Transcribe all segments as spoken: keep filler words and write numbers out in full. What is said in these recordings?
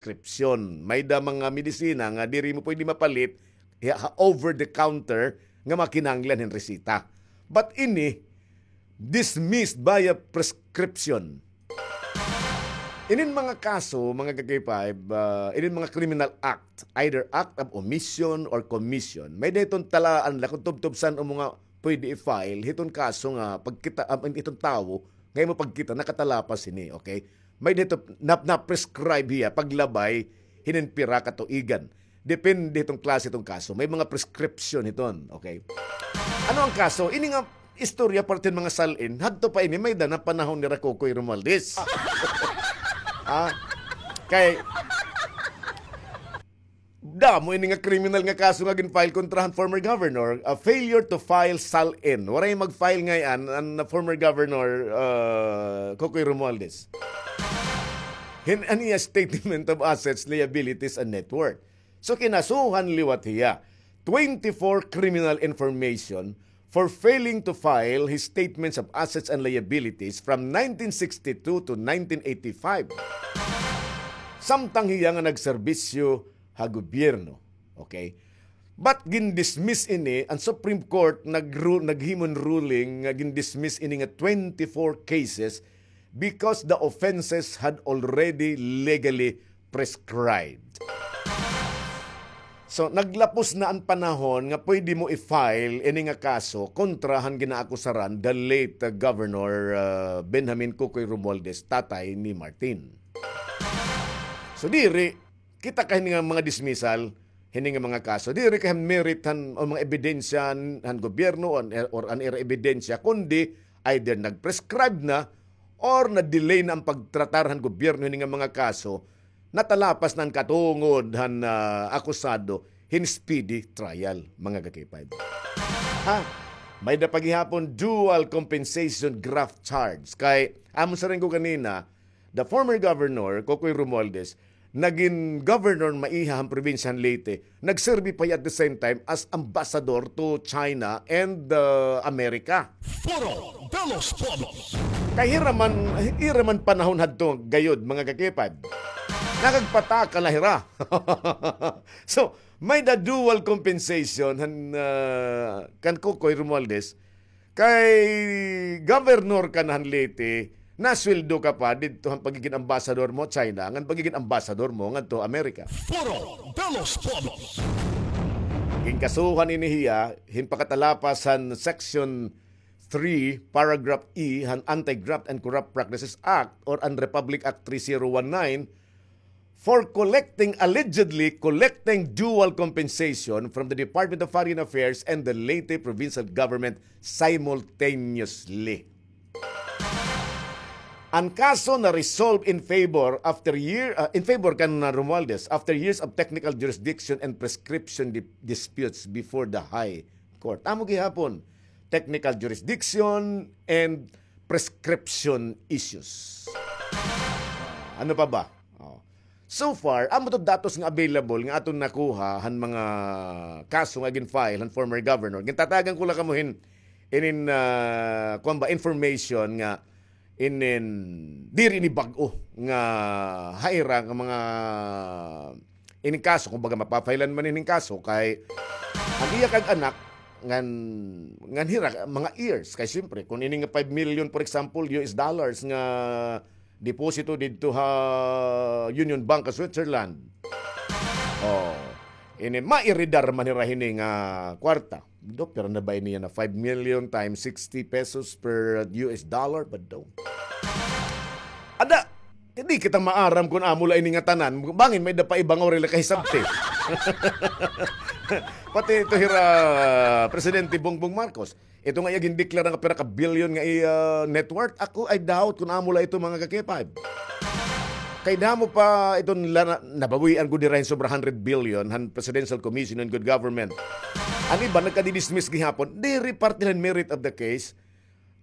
prescription. May-ada mga medisina nga diri mo pwede mapalit ha over the counter nga mga kinahanglan hin resita. But ini, dismissed via prescription. Inin mga kaso, mga ka-K five, ah, inin mga criminal act, either act of omission or commission, may-ada hiton talaan la kon tubtob san-o mo nga pwede i-file hiton kaso nga pagkita, um, hiton tawo nga imo pagkita nakatalapas hini, okay? May-ada hito na, na-prescribe hiya paglabay hinin pira ka tuigan. Depende hiton klase hiton kaso. May mga prescription hiton, okay? Ano an kaso? Ini nga istorya parte hin mga sal-in, hadto pa ini, may-ada na panahon nira Kokoy Romualdez. Ah, kay damo ini nga kriminal nga kaso nga gin-file kontra han former governor, a failure to file sal-in. Waray mag-file ngay-an an former governor, ah, Kokoy Romualdez. Hin an iya statement of assets, liabilities, and net worth. So, kinasuhan liwat hiya. Twenty-four criminal information for failing to file his statements of assets and liabilities from nineteen sixty-two to nineteen eighty-five. Samtang hiya nga nagserbisyo ha gobyerno. Okay? But gindismiss ini, an Supreme Court nagru-, naghimo hin ruling nga gindismiss ini nga twenty-four cases because the offenses had already legally prescribed. So, naglapos na an panahon nga pwede mo i-file ini nga kaso kontra han ginaakusaran, the late, uh, Governor, uh, Benjamin Kokoy Romualdez, tatay ni Martin. So, diri, kita kay hini nga mga dismissal, hini nga mga kaso, diri kay han merit han, o mga ebidensya han, han gobyerno, or, or an ira ebidensya, kundi either nag-prescribe na or na-delay na an pagtratar han gobyerno hini nga mga kaso, natalapas na an katungod han, ah, akusado hin speedy trial, mga ka-K five. Ha? May-ada pa gihapon dual compensation graft charge. Kay, amo siring ko kanina, the former governor, Kokoy Romualdez, nagin governor maiha han probinsya han Leyte, nagserbi pa hiya at the same time as ambassador to China and, uh, America. Foro de los Pueblos. Kay hira man, ira man panahon hadto gayod, mga ka-K five. Nakagpataka la hira. So, may-ada dual compensation han, uh, kan Kokoy Romualdez, kay governor ka na han Leyte, nasweldo ka pa didto han pagigin ambassador mo China, ngan pagigin ambassador mo ngadto Amerika. Foro de los Pueblos. Ginkasuhan ini hiya hin pakatalapas han Section three, Paragraph E han Anti-Graft and Corrupt Practices Act or an Republic Act three zero one nine, for collecting, allegedly collecting dual compensation from the Department of Foreign Affairs and the Leyte Provincial Government simultaneously. An kaso na-resolve in favor after year, ah, in favor kan, ah, Romualdez after years of technical jurisdiction and prescription di-, disputes before the High Court. Amo gihapon, technical jurisdiction and prescription issues. Ah, ano pa ba? Oh. So far, amo to datos nga available nga aton nakuha han mga kaso nga gin-file han former governor. Gintatagan ko la kamo hin inin, ah, kuan ba, information nga inin diri ini bag-o nga ha ira nga mga inin kaso, kumbaga, mapa-file-an man inin kaso kay an iya kag anak ngan, ngan hira mga heirs. Kay siyempre, kon ini nga five million, for example, U S dollars nga deposito didto ha Union Bank ha Switzerland. Oh, ini, mairidar man hira hini nga kwarta. Do, pira na ba ini yana? Five million times sixty pesos per U S dollar, bado. Ada, di kita maaram kon amo la ini nga tanan. Bangin may-ada pa iba nga waray la kahisabti. Pati ito hira Presidente Bongbong Marcos. Ito nga iya gindeklara nga pira ka billion nga iya net worth, ako, I doubt kon amo la ito, mga ka-K five. Kay damo pa iton la-, na-, nabawian gud dira hin sobra hundred billion han Presidential Commission on Good Government. An iba nagkadi-dismiss gihapon, diri parte han merit of the case.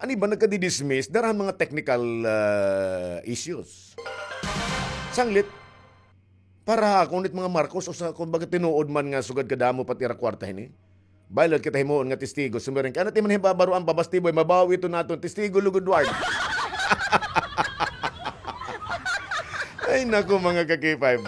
An iba nagkadi-dismiss dara han mga technical, ah, issues. Sanglit, para ha akon it mga Marcos, usa, kumbaga, tinuod man nga sugad kadamo pa it ira kwarta hini. Baylo kita himuon nga testigo, sumiring ka, ano ti man hibabaroan pa, Bastiboy, mabawi ito naton, testigo lugod ward. Ay, naku, mga ka-K five.